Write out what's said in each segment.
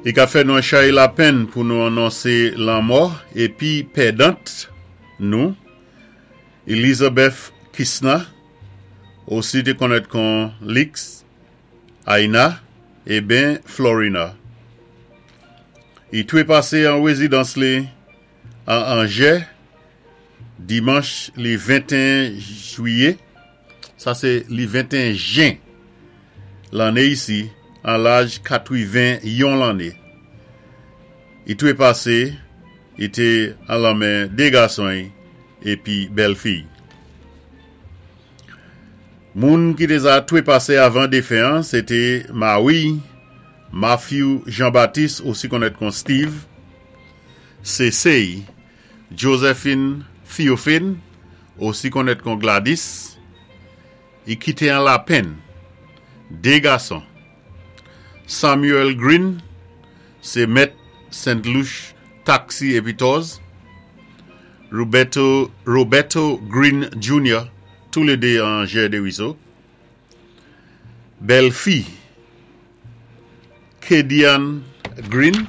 I ka fè nou an chay lapenn pou nou anonsé lanmò épi pèdant nou, Elizabeth Kisna, osi té konnèt kon Lix, Aina, eben Florina. I twépasé an wézidans li an Anjè dimanch li 21 jwiyé, sa sé li 21 jen lanné isi an laj 81 lanné. I twépasé, i té an lanmen 2 gason-y épi bèlfi-y. Moun ki té za twépasé avan défen an sé té mari-y, Matthew Jean Baptiste osi konnèt kon Steve, Sese-y, Josephine Theophane osi konnèt kon Gladys, i kité an lapenn 2 gason, Samuel Green sé mèt Saint Luce Taxi épi Tours, Roberto Roberto Green Junior, toulédé an Anjè Deriso, Bèlfi Kedian Green,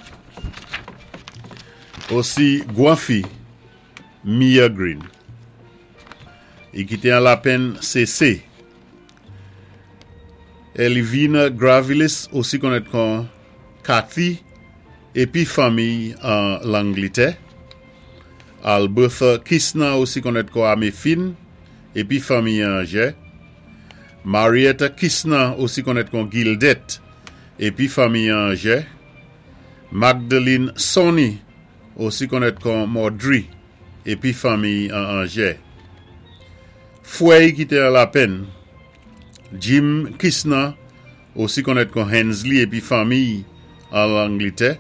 osi gwanfi Mia Green. I kité an lapenn Sese. Elivina Gravilis osi konnèt kon Kathy épi fanmiy an Langlitè. Albertha Kisna osi konnèt kon Amefin épi fanmiy an Anjè. Marietta Kisna osi konnèt kon Gildette épi fanmiy an Anjè. Magdeline Sonny osi konnèt kon Maudry épi fanmiy an Anjè. Fwèy ki té an lapenn, Jim Kisna osi konnèt kon Hensley épi fanmiy an Langlitè,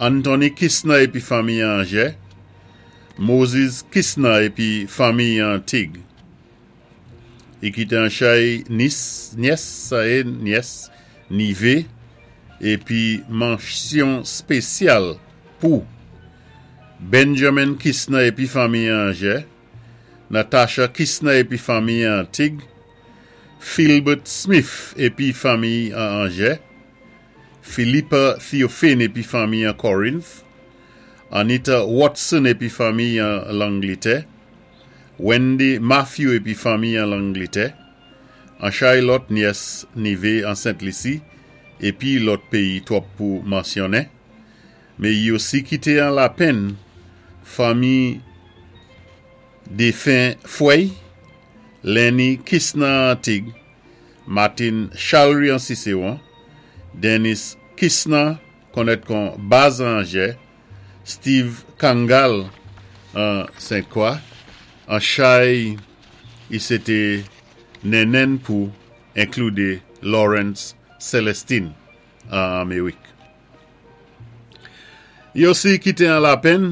Anthony Kisna épi fanmiy an Anjè, Moses Kisna épi fanmiy an Tig. I kité an chay nis, nyès, sa é nyès, nivé, épi mansyon spésyal pou Benjamin Kisna épi fanmiy an Anjè, Natasha Kisna épi fanmiy an Tig, Philbert Smith épi fanmiy an Anjè, Philippa Theophane épi fanmiy an Corinth, Anita Watson épi fanmiy an Langlitè, Wendy Matthew épi fanmiy an Langlitè, an chay lòt nyès nivé an Sent Lisi épi lòt péyi twòp pou mansyonnen. Mé i osi kité an lapenn fanmi défen fwèy, Lenny Kisna an Tig, Martin Chalry an Siséwon, Dennis Kisna konnèt kon Baz an Anjè, Steve Kangal an Sent Kwa, an chay i sé té nènèn pou enkloudé Lawrence Celestine an Amerik. I osi kité an lapenn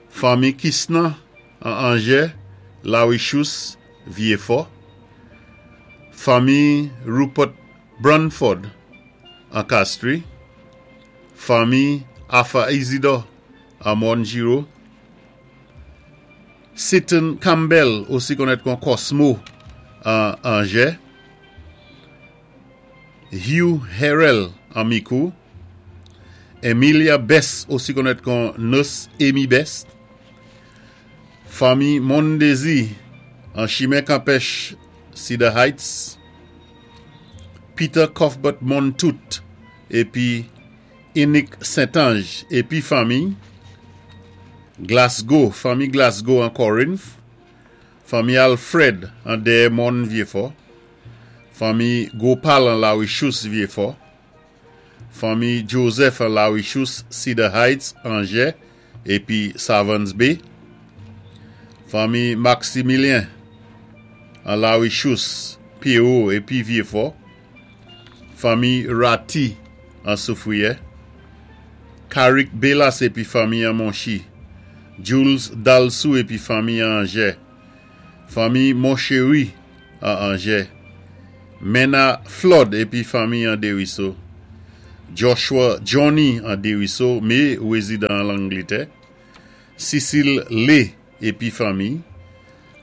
fanmi Kisna an Anjè, Larichous, Vyefò, fanmi Rupert Brunford an Kastri, fanmi Arthur Isidore an Mòn Jiro, Seton Campbell osi konnèt kon Cosmo an Anjè, Hugh Herrell an Mikou, Emilia Best osi konnèt kon Nurse Amy Best, fanmi Mondezi an Chimen Kanpèch Cedar Heights, Peter Cuthbert Montoute épi Inick Saint-Ange épi fanmi, Glasgow, fanmi Glasgow an Corinth, fanmi Alfred an Dèyè Mòn Vyefò, Fanmi Gopal an Larichous Vyefò, Fanmi Joseph an Larichous Cedar Heights Anjè épi Savannes Bay, Fanmi Maximilien an Larichous Pierrot épi Vyefò, Fanmi Ratty an Soufriyè, Carrick Belas épi fanmi an Monchi, Jules Dalsou épi fanmi an Anjè, Fanmi Monchery an Anjè, Mena Flood épi fanmi an Deriso, Joshua Johnny an Deriso mé wézidan an Langlitè, Cecile Lee épi fanmi,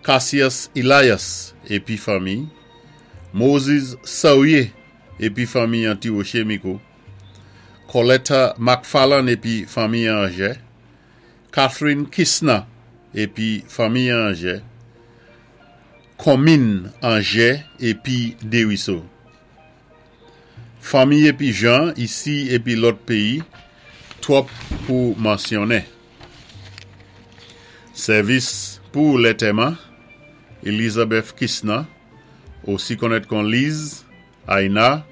Cassius Elias épi fanmi, Moses Saurier épi fanmi an Tiwoche Mikou, Coletta McFarlane épi fanmi Anjè, Catherine Kisna épi fanmi Anjè, konmin Anjè épi Déwiso. Fanmi épi jan isi épi lòt péyi twòp pou mansyonnen. Sèvis pou lètèman, Elizabeth Kisna, osi konnèt kon Liz, Aina,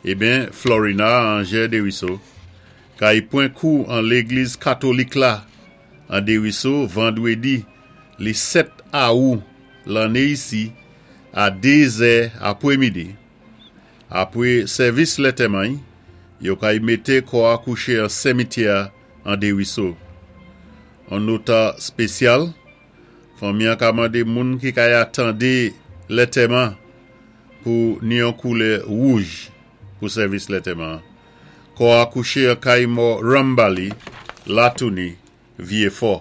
eben Florina Anjè Deriso, kay pwen kou an legliz katolik la an Deriso vandwédi li 7 awou lanné isi a 2 zè apwémidi. Apwé sèvis lètèman-y, yo kay mété kò-a kouché an senmityè an Deriso. On nota spésyal, fanmi-an ka mandé moun ki kay atandé lètèman pou ni yon koulè wouj pou sèvis lètèman. Kò-a kouché an kay mò Rambali, Latouni, Vyéfò.